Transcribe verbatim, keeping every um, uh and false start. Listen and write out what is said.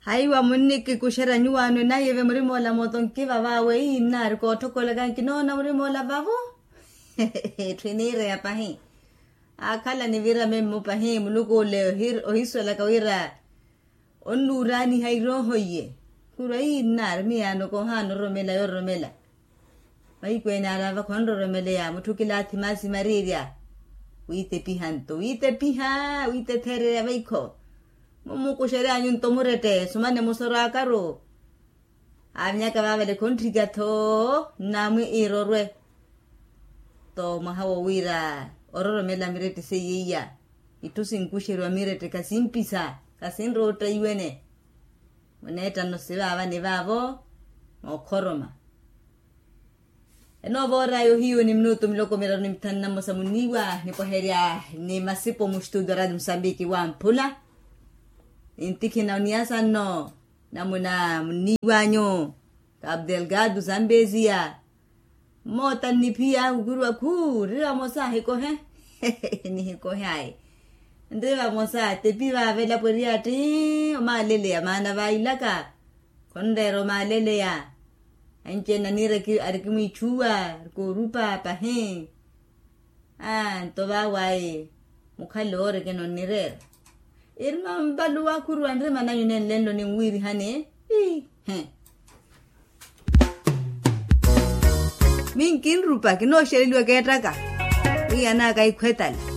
Aiwa munnikikuxerya nyuwaano naye ve murimoola mooto nkivavaawe ii nnaari kootthokolaka nkinoona murimoola vavo. Etthu iniireya pahi. Aakhala nivira memmo pahi muluku ole ohiswelaka wira onnuuraaniha irooho iye. Khurwa ii nnaari miyaano koohaana ororomela yororomela. Vaikweene araava khonroromeleya mutthu kilaathi maasi mariirya. Wiitepiha nto wiitepiha wiitetheererya vaikho. Mumukuxery'anyu nto murette sumane musoro akaru. Aavinyaka vaavale khontthikya-tho. Nnaamwi iirorwe. Nto mwaha wo wira ororomela mirette seiya iya. Itthu sinkuxeriwa mirette khasimpisa khasinrotta iwene. Muneettano sivaavani vaavo mookhoroma. Enoova oraya ohiyu ni minutu miloko miraru ni mithanu na mmosa muniiwa nipwaherya ni masipo muxitudio a radio musambiki wamphula. Nintikhina oniyasa nno namuna muniiwanyu. Kapu delgado zambeziya. Mmoota nniphiya khukhuriwa khuu rira vamosa ahikohe. Nihikohe ayi. Nri vamosa tepi vaavela pweriya tti. Omaaleleya maana vailaka khonreera omaaleleya. Anci-ene aniira arikimwiichuwa arikoorupa pahi. Aa nto vaawayi mukhale oorikina onnireera. Irima mpaluwa khuruwa nrima nanyu nenlenlo ninwiirihani. Ii. Minkinrupa kinooxereliwa keettaka. Wiiyanaka ikhwetale.